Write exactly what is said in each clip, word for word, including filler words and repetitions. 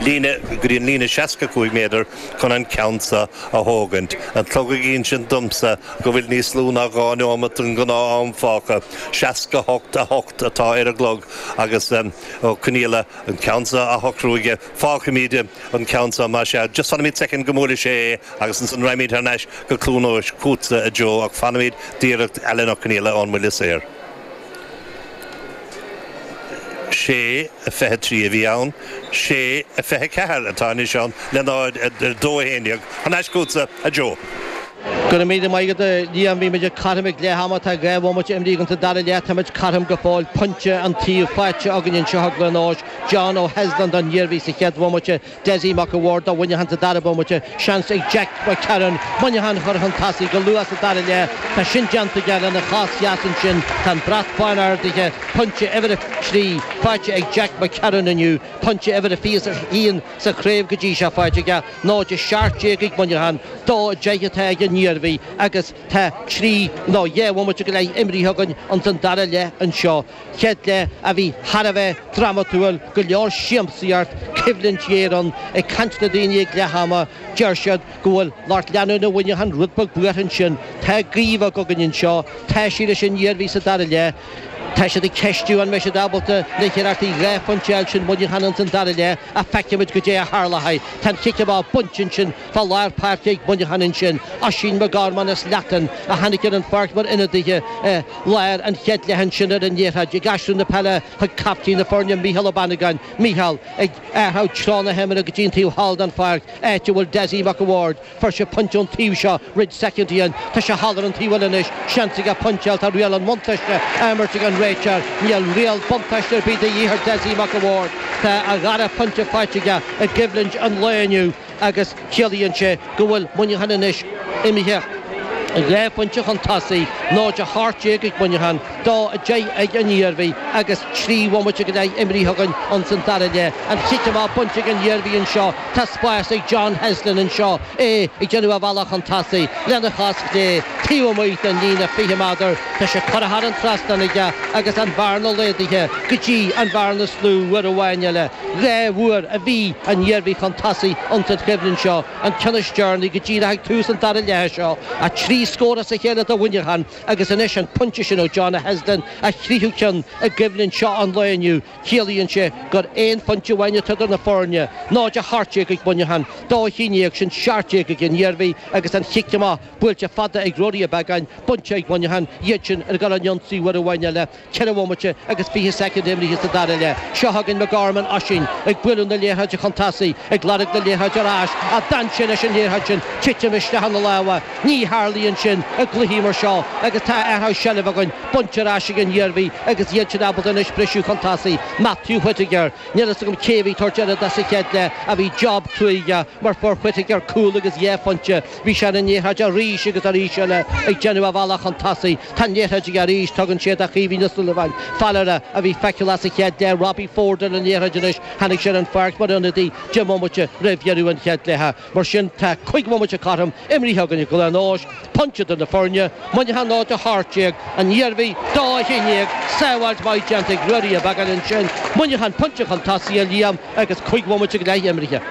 Líne go dtí an líne seasca cúig méadar chun an ceann seo a thógaint. An clog ag insint domsa go bhfuil níos lú ná dhá nóiméad den ghnáth-am fágtha, seasca hocht a hocht atá ar an gclog agus Ó Conghaile an ceann seo á shocrú aige. Fágfaimid an ceann seo mar sea. Just fanfaimid soicind go mbuailfidh sé é agus ansan raghaimid thar n-ais go Cluain Eois chugatsa a Joe ach fanfaimid d'iarracht Alan Ó Conghaile ón mbuille saor. Sé a fiche trí a bhí ann, sé a fiche ceathair atá anois ann le náid a dó a haon déag. Thar n-ais chugatsa, a Joe. Go raibh míle maith agat, a Liam. Bhí muid cothrom ag leath ama, tá dhá bhomaite imrithe againn sa dara leath, tá muid cothrom go fóill. Pointe an taobh faighte againn anseo i gCluain Eois. John O'Heslin don Iarmhí sa chéad bhomaite, Dessie Mac a' Bhaird do Mhuineachán sa dara bomaite. Seans ag Jack McCarron Muineachán a chur chun tosaigh go luath sa dara leath. Tá sin déanta aige lena chos dheas ansin. Tá an brat bán ardaithe. Pointe uimhir a trí faighte ag Jack McCarron inniu. Pointe uimhir a fiche a haon sa chraobh go dtí seo faighte aige. náid a seacht déag ag Muineachán, dó a deich atá ag an Iarmhí agus tá trí nó dhá bhomaite go leith imrithe againn ins an dara leath anseo. Chéad leath a bhí thar a bheith drámatúil, go leor siamsaíocht, coimhlint ghéar ann. Ag caint le daoine ag leath ama, deir siad go bhfuil lucht leanúna Mhuineacháin rud beag buartha ansin. Tá gaoth bheag againn anseo, tá sí leis an Iarmhí sa dara leath. Tá siad ag ceistiú an mbeidh siad ábalta na hiarrachtaí dhá phointe a fháil sin Muineachán ins an dara leath ach feicfimid goidé a tharlóidh. Tá an cic amach bainte ansin fá lár páirce ag Muineachán ansin. Oisín McGorman as Leatain a tháinig ar an pháirc mar ionadaithe i lár an chéad leath ansin ar an liathróid ag aistriú na peile chuig captaen na foirne Mícheál Ó Bannagáin. Mícheál ag athrú treo na himeartha go dtí an taobh thall den pháirc áit a bhfuil Dessie Mac a' Bhaird. Fuair sé pointe ón taobh seo roinnt soicindí ó shin. Tá sé thall ar an taobh eile anois. Seans aige pointe a fháil. Tá riail an bhuntáiste á imirt ag an réiteoir. Níl riail buntáiste ar bith de dhíth ar Dessie Mac a' Bhaird. Tá a dhara pointe faighte aige i gcoimhlint an lae inniu agus ciallaíonn sé go bhfuil Muineachán anois imithe dhá phointe chun tosaigh, náid a hocht déag ag Muineachán, dó a deich ag an Iarmhí agus trí bhomaite go leith imrithe againn ins an dara leath. An cic amach bainte ag an Iarmhí anseo. Tá spás ag John Heslin anseo, é ag déanamh a bhealach chun tosaigh lena chos chlé taobh amuigh den líne fiche méadar. Tá sé curtha thar an trasnán aige agus an bhearna laghdaithe go dtí an bhearna is lú uair amháin eile. Dhá uair a bhí an Iarmhí chun tosaigh ins an choimhlint seo, an ceann is deireanaí go díreach ag tús an dara leatha seo. A trí scór as a chéile do Mhuineachán agus anois an pointe sin ó John Heslin, a thríú ceann i gcoimhlint seo an lae inniu. Ciallaíonn sé gur aon phointe amháin atá idir na foirne, náid a hocht déag ag Muineachán, dó a haon déag, sin seacht déag ag an Iarmhí agus an chic amach buailte fada ag Ruairí Ó Beagáin, bainte ag Muineachán, iad sin ag dul ar an ionsaí uair amháin eile. Ceithre bhomaite agus fiche soicind imrithe sa dara leath. Seo chugainn McGorman, Oisín ag bualadh na liathróide chun tosaigh, ag lorg na liathróide ar ais, ach d'fhan sé leis an liathróid sin, titim isteach ina lámha. Ní tharlaíonn sin i gcluichí mar seo agus tá athrú seilbhe againn, bainte ar ais ag an Iarmhí agus iad sin ábalta anois briseadh chun tosaigh. Matthew Whittaker, níl fhios agam cé a bhí ag tabhairt aire dó sa chéad leath ach bhí job cruaidh aige mar fuair Whittaker cúl agus dhá phointe. Bhí sé ar an liathróid arís agus arís eile ag déanamh a bhealach chun tosaigh. Tá an liathróid aige arís, tugann sé do Chaoimhín Ó Súilleabháin, fear a bhí feiceálach sa chéad leath, Robbie Ford ar an liathróid anois, tháinig sé ar an pháirc mar ionadaí deich mbomaite roimh dheireadh an chéad leatha. Mar sin tá cúig bhomaite cothrom imrithe againn i gCluain Eois, pointe idir na foirne, Muineachán náid a hocht déag, an Iarmhí dó a haon déag, sábháilt mhaith déanta ag Ruairí Ó Beagáin ansin, Muineachán pointe chun tosaigh a Liam agus cúig bhomaite go leith imrithe.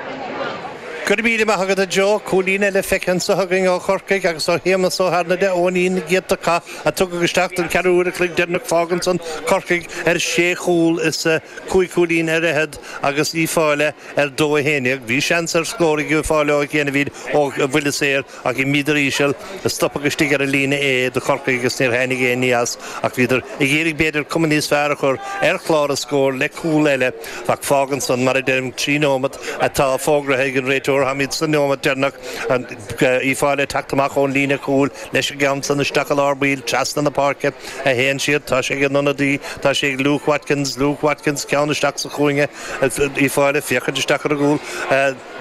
Go raibh míle maith agat a Joe. Cúilín eile feicthe anseo againn ó Chorcaigh agus ó Shéamus Ó hAirneide Eoinín giota caith a tugadh isteach don ceathrú uair a chloig deireanach fágann san Corcaigh ar sé chúl is cúig chúilín ar fhichead agus Uíbh Fhailí ar dó a haon déag. Bhí seans ar scór ag Uíbh Fhailí ó chianaibh ó bhuille saor ach imíodar íseal stopadh istigh ar an líne é do Chorcaigh agus níor tháinig aon ní as ach bhíodar ag iarraidh b'fhéidir cuma níos fearr a chur ar chlár an scóir le cúl eile ach fágann san mar a deirim trí nóiméad atá fógraithe ag an réiteoir táimid sa nóiméad deireanach Uíbh Fhailí ag teacht amach ón líne chúil leis an gceann san isteach i lár baill trasna na páirce a théann siad tá sé ag an ionadaí tá sé ag Luke Watkins Luke Watkins ceann isteach sa chúinne Uíbh Fhailí féachaint isteach ar an gcúl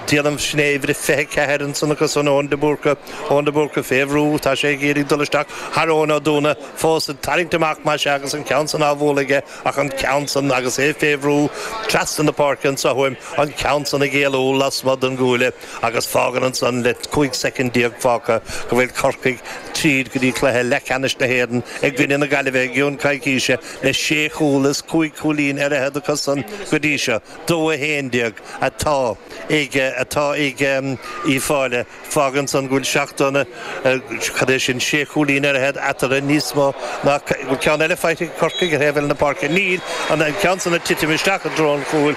déanaim sin é uimhir a fiche ceathair ansan acu san Eoin de Búrca Eoin de Búrca fé bhrú tá sé ag iarraidh dul isteach thar Eoin Ó Dúna fós ag tarraingt amach más ea agus an ceann san á bhualadh aige ach an ceann san agus é fé bhrú trasna na páirce anso uaim an ceann san ag éalú lasmuigh den gcuaille agus fágann ansan le cúig soicind déag fágtha go bhfuil Corcaigh tríd go dtí cluiche leathcheannais na hÉireann i gcoinne na Gaillimhe i gceann coicíse le sé chúl is cúig chúilín ar fhichead acusan go dtí seo, dó a haon déag atá ag atá ag Uíbh Fhailí. Fágann san go bhfuil seacht cad é sin sé chúilín ar fhichead eatarthu níos mó ná bhfuil ceann eile faighte ag Corcaigh ar thaobh eile na páirce. Níl an ceann san ag titim isteach i dtreo an chúil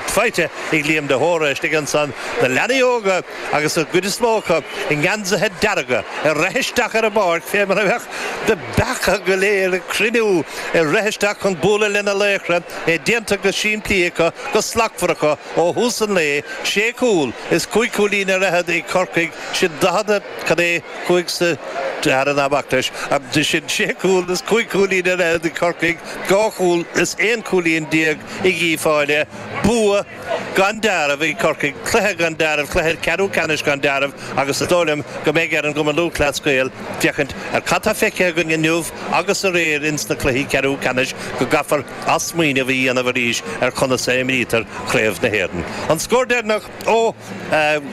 faighte ag Liam de hÓra istigh ansan. Na leanaí óga agus an gcuid is mó acu i ngeansaithe dearga ag rith isteach ar an bpáirc fé mar a bheadh na beacha go léir ag cruinniú ag rith isteach chun bualadh lena laochra, é déanta go simplí acu, go slachtmhar acu ó thús an lae, sé chúl is cúig chúilín ar fhichead ag Corcaigh, sin daichead, cad é, cúig sa dara ná bac leis, sin sé chúl is cúig chúilín ar fhichead ag Corcaigh, dhá chúl is aon chúilín déag ag Uíbh Fhailí, bua gan dealramh ag Corcaigh, cluiche gan dealramh, cluiche ceathrú ceannais gan dealramh agus is dóigh liom go mbeidh ar an gCumann Lúthchleas Gael féachaint ar cad tá feicthe againn inniu agus aréir ins na cluichí ceathrú ceannais go gcaithfear athsmaoineamh a dhéanamh arís ar conas a imrítear Craobh na hÉireann. An scór deireanach ó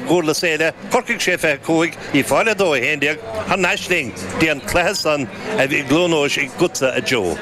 Dhurlas Éile, Corcaigh sé fiche cúig, Uíbh Fhailí a dó a haon déag, thar n-ais linn dtí an cluiche san i gCluain Eois agatsa a Joe.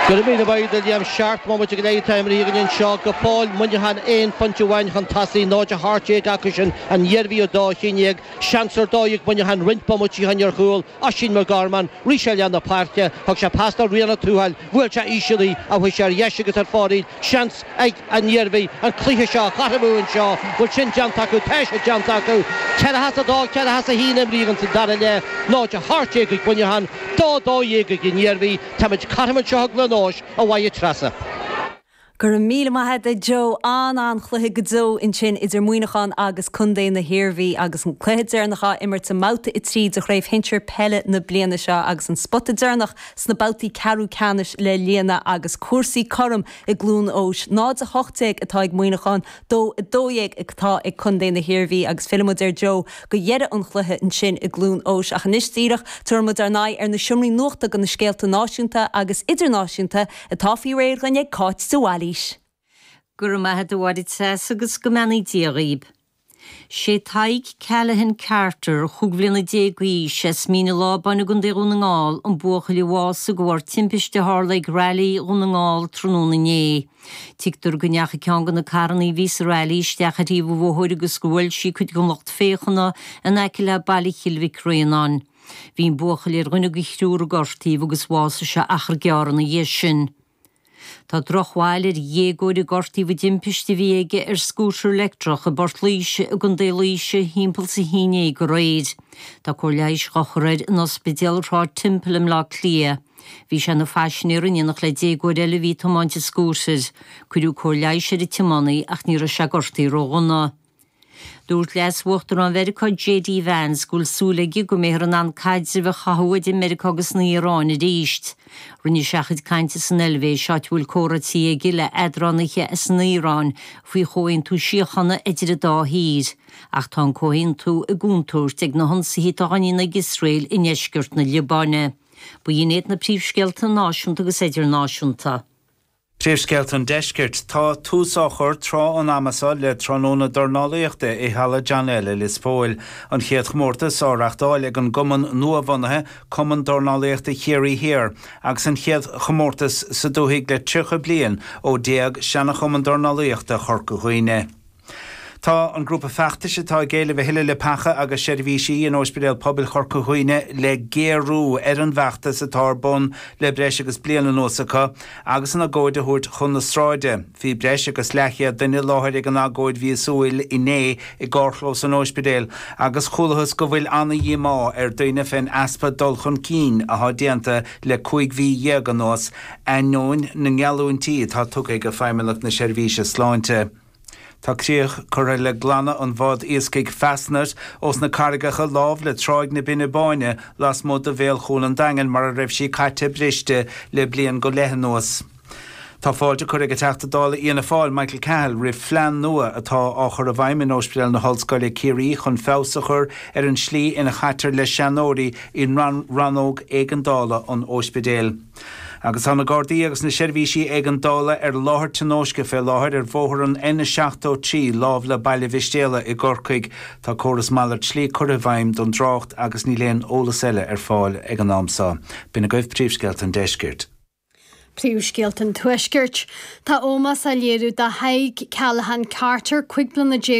Go raibh míle maith agat a Liam. Seacht mbomaite go leith atá imrithe againn anseo go fóill. Muineachán aon phointe amháin chun tosaigh, náid a hocht déag acusan, an Iarmhí a dó haon déag. Seans ar dóigh ag Muineachán roinnt bomaití ó shin ar chúl Oisín McGorman. Rith sé leath na páirce, thug sé pas do Ríona Tuathail, bhuail sé íseal í ach chuaigh sé ar dheis agus ar fóraoil. Seans ag an Iarmhí an cluiche seo a chothromú anseo. Bhfuil sin déanta acu? Tá sé déanta acu. Ceathracha a dó, ceathracha a haon imrithe sa dara leath, náid a hocht déag ag Muineachán, dó dó dhéag ag an Iarmhí. Táimid cothrom anseo i gCluain Eois, a Mháire Treasa. Go raibh míle maith agat a Joe. An-an-chluiche go deo ansin idir Muineachán agus Contae na hIarmhí agus an cluiche deireanach á imirt i mbabhta a trí de chraobh shinsir peile na bliana seo agus an spota deireanach sna babhtaí ceathrú ceannais le líonadh agus cúrsaí cothrom i gCluain Eois. náid a hocht déag atá ag Muineachán, dó a dó dhéag atá ag Contae na hIarmhí agus fillfimid ar Joe go dheireadh an chluiche ansin i gCluain Eois ach anois díreach tabharfaimid ár n-aghaidh ar na seomraí nuachta do na scéalta náisiúnta agus idirnáisiúnta atá faoi réir againn ag Cáit de Bhailís. Go raibh maith agat a Mháire Treasa agus go mbeannaí Dia dhaoib. Sé Tadhg Callahan Carter, chúig bhliana déag d'aois, as Mín an Lábáin i gContae Dhún na nGall, an buachaill a bhásaigh de bharr timpiste a tharla ag Railí Dhún na nGall tráthnóna inné. Tuigtear go ndeachaigh ceann de na carranna a bhí sa railí isteach ar thaobh an bhóthair agus gur bhuail sí cuid den lucht féachana in aice le baile Chill Mhic Réanáin. Bhí an buachaill ar dhuine de thriúr a gortaíodh agus bhásaigh sé achar gearr ina dhiaidh sin. Tá drochbhail ar dhéagóir a gortaíodh i dtimpiste a bhí aige ar scútar leictreach i bPort Laoise i gContae Laoise thimpeall is a haon déag aréir. Tá cóir leighis á chur air in Ospidéal Shráid Temple i mBleá Cliath. Bhí sé ina phaisinéir in éineacht le déagóir eile a bhí ag tiomáint an scútair. Cuireadh cóir leighis ar an tiománaí ach ní raibh sé gortaithe ródhona. Dúirt Leas-Uachtarán Mheiriceá J D Vance go bhfuil súil aige go mbeifear in ann caidreamh a chothú idir Meiriceá agus an Iaráin arís. Rinne sé a chuid cainte san Eilvéis, áit a bhfuil comhráití aige le eadránaithe as an Iaráin faoi chomhaontú síochána idir an dá thír. Ach tá an comhaontú i gcontúirt ag na hionsaithe atá á ndéanamh ag Iosrael i ndeisceart na Liobáine. Ba shin iad na príomhscéalta náisiúnta agus idirnáisiúnta. Príomhscéalta an Deiscirt. Tá tús á chur tráth an ama seo le tráthnóna dornálaíochta i Halla John L i Lios Póil. An chéad chomórtas á reáchtáil ag an gcumann nuabhunaithe Cumann Dornálaíochta Chiarraí Thiar agus an chéad chomórtas sa dúthaigh le tríocha bliain ó d'éag seana-chumann dornálaíochta Chorca Dhuibhne. Tá an grúpa feachtais atá ag éileamh a thuilleadh leapacha agus seirbhísí in Ospidéal Pobail Chorca Dhuibhne le géarú ar an bhfeachtas atá ar bun le breis agus bliain anuas acu agus an agóid a thabhairt chun na sráide. Bhí breis agus leathchéad duine i láthair ag an agóid mhíosúil inné i gcarrchlós an ospidéil agus chualathas go bhfuil ana-dhíomá ar daoine fén easpa dul chun cinn atá déanta le cúig mhí dhéag anuas ainneoin na ngeallúintí atá tugtha ag Feidhmeannacht na Seirbhíse Sláinte. Tá críoch curtha le glanadh an bhád iascaigh Fastnet ós na carraigeacha lámh le Tráigh na Binne Báine lasmuigh de bhéal Chuan an Daingin mar a raibh sí caite briste le bliain go leith anuas. Tá fáilte curtha ag an Teachta Dála Fhianna Fáil Michael Cahill roimh phlean nua atá á chur i bhfeidhm in Ospidéal na hOllscoile Ciarraí chun feabhas a chur ar an slí ina chaitear le seanóirí i rannóg éigeandála an ospidéil. Agus tá na Gardaí agus na seirbhísí éigeandála ar láthair tionóisce fé láthair ar bhóthar an N seachtó trí láimh le Baile Mhistéala i gCorcaigh. Tá córas malairt slí curtha i bhfeidhm don trácht agus níl aon eolas eile ar fáil ag an am seo. B'in agaibh príomhscéalta an deiscirt. Príomhscéalta an Tuaiscirt. Tá ómós á léiriú do Thadhg Callaghan Carter cúig bliana déag